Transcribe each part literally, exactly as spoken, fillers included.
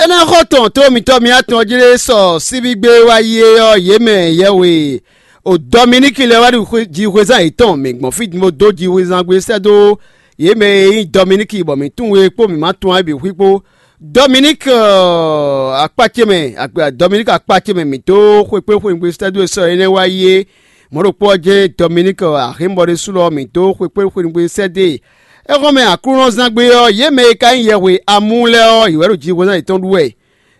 Énɛ́ xɔ tɔn tó mitɔ́ mi atɔn jí lé sɔ síbígbé wá yi é ɔ́, yě mɛ yɛhwe o Dɔminíki lɛ́ɛ wá ɖi jihwezán yětɔn mǐ gbɔn fí din bó dó jihwezán gbé sɛ́ dó yě mɛ e nyí Dɔminíki bɔ mǐ tunwun é kpó mǐ ma tunwun ɛ bǐ xwí kpó. Dɔminíki akpá ce mɛ, Dɔminíki akpá ce mɛ mǐ dó xwekpé xweyǐgbe sɛ́ dó e sɔ́ énɛ́ wá yi é. Mɔ̌ ɖokpó ɔ́ jɛ́n Dɔminíki Ahémbɔ ɖésú lɔ mǐ dó xwekpé xweyǐgbe sɛ́ dó e. É hɔn mɛ Aklúnɔzán gbe ɔ́, yě mɛ e ka nyí yɛhwe amú lɛ́ɛ ɔ́, yě wɛ ɖo jihwezán yětɔn ɖu wɛ.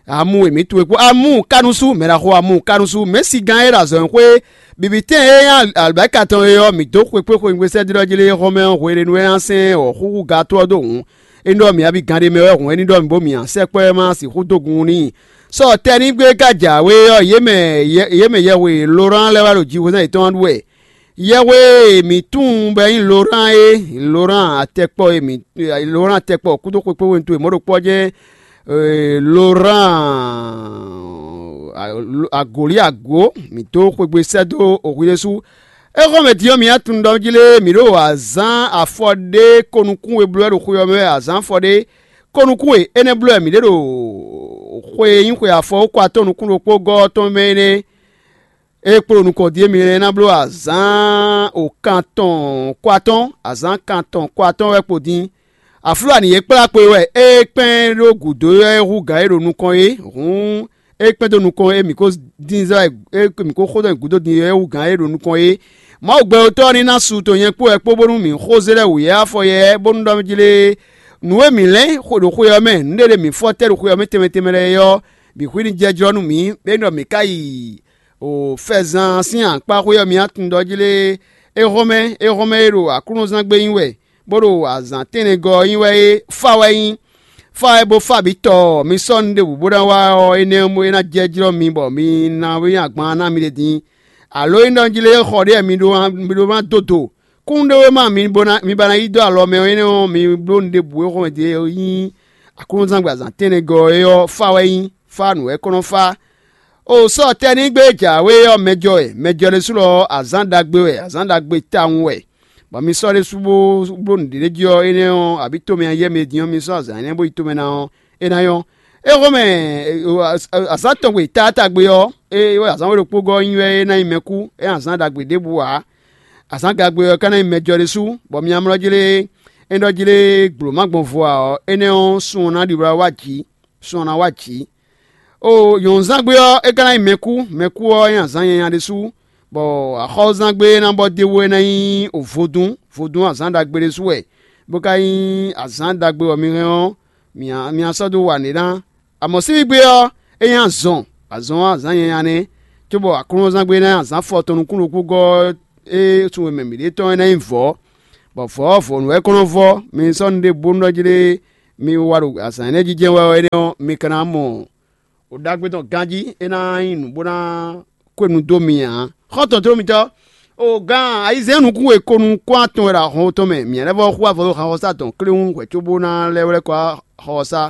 Amu e mǐ tunwun e kpó Amu Kanúsu, mɛ ɖaxó Amu Kanúsu, mɛ̌sigán e ɖo azɔ̌xwé bǐbítɛn e nyí alɔ̌bɛ́ka tɔn é ɔ́, mǐ dó xwekpé xweyǐgbe sɛ́ dó jí lé xɔmɛ ɔ́ hweɖénu e ná sɛn wɔ̌xúxú gató ɔ́ dó hǔn. É ní ɖɔ mǐ abí gán ɖé mɛ wɛ hǔn é ní ɖɔ mǐ bó mǐ ǎ sɛkpɔ́ e ma sixú dó gun n'i. Sɔ tɛ́ ní gbé ka jǎwe ɔ́, yě mɛ yɛ- yě mɛ yɛhwe Lorán lɛ́ɛ wá ɖo jihwezán yětɔn ɔ́ ɖu wɛ. Yɛhwe e mǐ tunwun bɔ é nyí Lorán é, Lorán atɛkpɔ e mǐ Lorán atɛkpɔ kúdó xwekpéwenu towe mɔ̌ ɖokpó ɔ́ jɛ́n Lorán agǒlí agǒ mǐ dó xwegbe sɛ́ dó oxwi ɖésú. É xɔ́n mɛ din ɔ́, mǐ tunwun ɖɔ jí lé mǐ ɖo azǎn afɔ ɖé ko nukún we bló wɛ ɖo xwe ɔ́ mɛ wɛ, azǎn afɔ ɖé ko nukún we énɛ́ bló wɛ mǐ ɖe ɖo xwe e nyí xwe afɔ ko atɔ́ɔ́n nukún ɖokpó gɔ́ ɔ́ tɔn mɛ énɛ́. É kpló nukɔn din e mi lɛ́ ná bló azǎn o kan tɔn kó atɔ́ɔ́n, azǎn kan tɔn kó atɔ́ɔ́n wɛ kpo din. Aflú anǐ e kplá kpo e wɛ é kpɛ́n ɖó gǔdo wɛ é hú gǎn e ɖo nukɔn é, hǔn é kpɛ́n dó nukɔn e mǐ ko dín zɛ wɛ é mǐ ko xo dó gǔdo din é hú gǎn e ɖo nukɔn é. Mawu gbɛtɔ́ ɔ́ ní ná su tɔn nyɛ kpó wɛ kpó bónú mǐ xó zé lɛ́ wǔyɛ́ afɔ yɛ bónú ɖɔ jí lé nǔ e mǐ lɛ́n xwe ɖo xwe ɔ́ mɛ, nǔɖé ɖé mǐ fɔ tɛ́ ɖo xwe ɔ́ mɛ tɛnmɛ tɛnmɛ lɛ́ɛ é ɔ́, bǐ hwí ní jɛ jlɔ́ nú mǐ, bɔ é ɖɔ mǐ ka yi o fɛzan sín akpá xwé ɔ́ mǐ tunwun ɖɔ jí lé é hɔn mɛ é hɔn mɛ e ɖo Aklúnɔzán gbé nyi wɛ, bó ɖo azǎn tɛ́nnɛgɔ́ ɔ́ nyi wɛ é fá wɛ nyí. Fá wɛ bó fá bǐ tɔ mi sɔ́ nu ɖěbǔ bó ná wá ɔ́, énɛ́ ɔ́ é ná jɛ jlɔ́ mi bɔ mi ná wí agban ná mi ɖe din. Alo é ɖɔ jí lé xɔ ɖé mi ɖó mi ɖó ná dó do kún ɖé wé ma mi bó ná mi ba ná yí dó alɔ mɛ ɔ́, énɛ́ ɔ́ mi bló nu ɖěbǔ e xɔmɛ din e nyí Aklúnɔzán gbazán tɛ́nnɛgɔ́ é ɔ́ fá wɛ nyí, fá nǔ wɛ kɔn nɔ fá. O sɔ́ tɛ́ ní gbé jǎwe ɔ́ mɛjɔ wɛ, mɛjɔ ɖésú lɔ ɔ́, azǎn ɖagbe wɛ, azǎn ɖagbe tawun wɛ, bɔ mi sɔ́ ɖésú bó bló nǔɖé jí ɔ́, énɛ́ ɔ́, abǐ tomɛ ayɛ́ mɛ din ɔ́, mi sɔ́ azǎn énɛ́ bó yi tomɛ ná ɔ́, é ná nyɔ́. É xɔ́mɛ azǎn tɔn gbe taátagbe ɔ́, é wɛ azǎn we ɖokpó gɔ́ nyi wɛ é ná nyí mɛkú, é azǎn ɖagbe ɖěbǔ ǎ. Azǎn gagbe ɔ́ ka ná nyí mɛjɔ ɖésú, bɔ mi amlɔ jlé é ɖɔ jlé gblo má gbɔn vo ǎ ɔ́, énɛ́ ɔ́, sun ɔ́ ná ɖi wlá wá jǐ, sun ɔ́ ná wá jǐ. O nyɔ̌nuzángbe ɔ́, é ka ná nyí mɛkú, mɛkú ɔ́ nyí azǎn nyanya ɖésú, bɔ axɔ́zángbe e ná bɔ d'é wú é ná nyí vodún, vodún azǎn ɖagbe ɖésú wɛ, bó ka nyí azǎn ɖagbe bɔ mi hɛn ɔ́, mi ná sɔ́ dó wa nǔɖé ná. Amɔ̌ síbígbe ɔ́, é nyí azɔn, azɔn ɔ́ azǎn nyanya nɛ́, cóbɔ aklúnɔzángbe ná nyí azǎn fɔ tɔn nukúnnukúngɔ́ e sun e mɛ mǐɖée tɔn é ná nyí vɔ̌, bɔ vɔ̌ ɔ́ vɔ̌nu wɛ é kɔn nɔ vɔ́. Mi sɔ́ nu ɖé bónú ɖɔ jí ɖé mi wa ɖo azǎn énɛ́ jijɛ wɛ ɔ́, énɛ́ ɔ́, mi ka ná mɔ o ɖagbe tɔn ganjí, é ná nyí nǔ bó ná kó nu dó mi ǎ. Xɔ́ntɔn tló mitɔ́, o gǎn ayizɛ́n nukún e ko nukún atɔn wɛ ɖo ahɔn tɔn mɛ, mǐ lɛ́ vɔ́ xú avɔ dó xaxɔsá tɔn kléwún hwɛ̌ cóbó ná lɛ́ wlɛ́ kɔ axɔsá.